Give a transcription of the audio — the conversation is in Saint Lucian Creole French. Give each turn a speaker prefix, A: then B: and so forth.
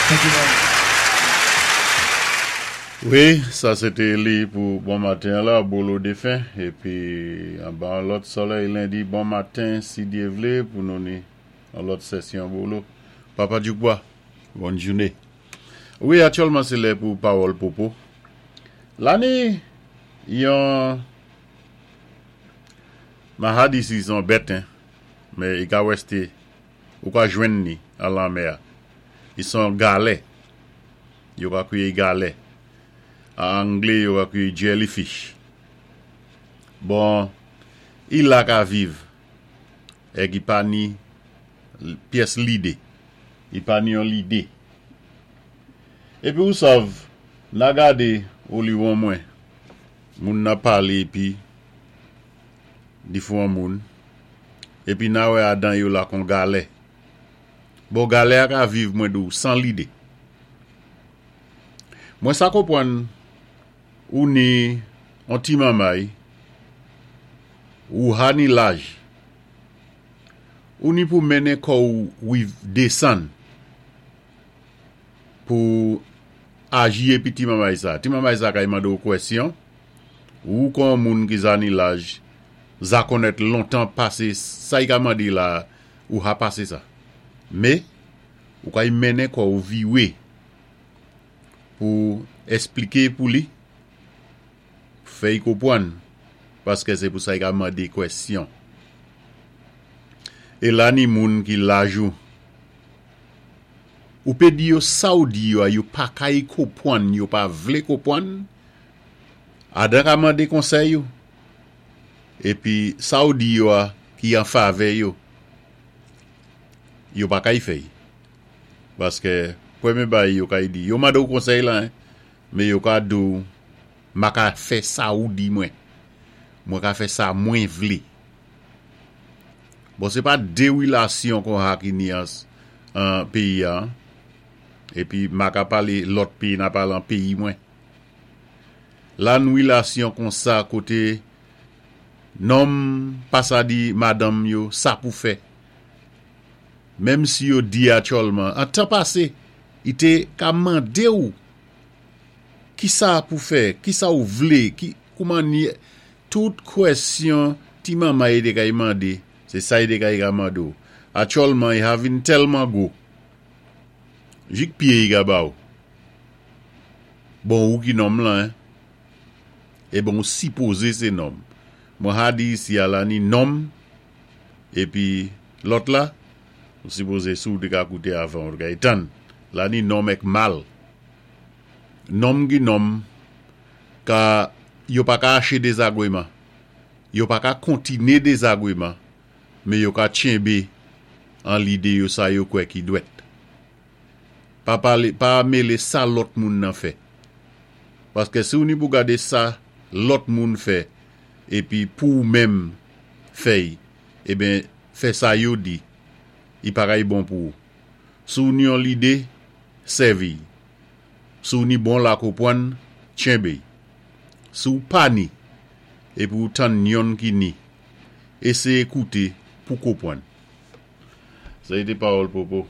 A: Thank you very much.
B: Wi, sa sé té li pou bon maten la, Bolo Defen. Épi, anba an lòt solèy lendi, bon maten, si Dye vlé, pou nou ni an lòt sesyon Bolo. Papa Djoukba, bòn jouné. Wi, aktyèlman sé lè pou pawòl popo. La ni yon mahadisi son bèt, hein, men i ka wèsté, ou ka jwenn ni an lanmè a. I son galè. Yo ka kwiye galè. An anglé yo ka kwiye jellyfish. Bon, i la ka viv. Èk i pa ni pyès lidé. I pa ni yon lidé. Épi ou sav, na gadé oliwon mwen, moun nan palé épi di fou an moun, épi na wè adan yo la kon galè. Bon galè a ka viv mwen di w san lide. Mwen sa konpwann ou ni on ti manmay, ou ha ni laj. Ou ni pou mennen kò ou wi desann pou aji epi ti manmay sa. Ti manmay sa kay mande w kwèsyon, ou kon on moun ki za ni laj, za konnèt lontan pase sa y ka mande la ou ha pase sa. Me, ou kay mennen kò ou viwe pou esplike pou li, fè y konpwann, paske se pou sa y ka mande kwèsyon. E la ni moun ki laj ou, ou pe di yo sa ou di yo a, yo pa kay konpwann, yo pa vle konpwann, adan ka mande konsèy ou, Epi sa ou di yo a ki an favè yo, yo pa kay fè y. Paske premye bagay yo kay di, yo mande ou konsèy lan, men yo ka di ou, ma ka fè sa ou di mwen. Mwen ka fè sa mwen vle. Bon, se pa de relasyon kon ha ki ni an peyi a. Epi ma ka pale lòt peyi, na pale an peyi mwen. La n relasyon konsa kote nonm pa sa di madanm yo sa pou fè. Menm si yo di atyòlman, an tan pase, i te ka mande w kisa pou fè, kisa ou vle, ki kouman ni tout kwèsyon ti manman e te kay mande, se sa i te kay ka mande w. Atyòlman i ha vin tèlman gwo. Jik pye i ka ba w. Bon ou ki nonm lan hein. Eben ou sipoze se nonm. Mwen ha di isi a la ni nonm epi lòt la ou sipoze si ou te ka koute avan ou te ka etann. La ni nonm èk mal. Nonm ki nonm ka yo pa ka ache dezagweman. Yo pa ka kontine dezagweman men yo ka tchenbe an lide yo sa yo kwè ki dwèt. Pa pale, pa mele sa lòt moun nan fè. Paske si w ni pou gade sa lòt moun fè epi pou ou menm fè y, eben fè sa yo di, i pa kay bon pou ou. Si w ni yon lide, sèvi y. Si w ni bon lakopwann, tchenbe y. Si w pa ni, epi w tann yonn ki ni, eseye koute pou kopwann. Sa se te pawòl Popo.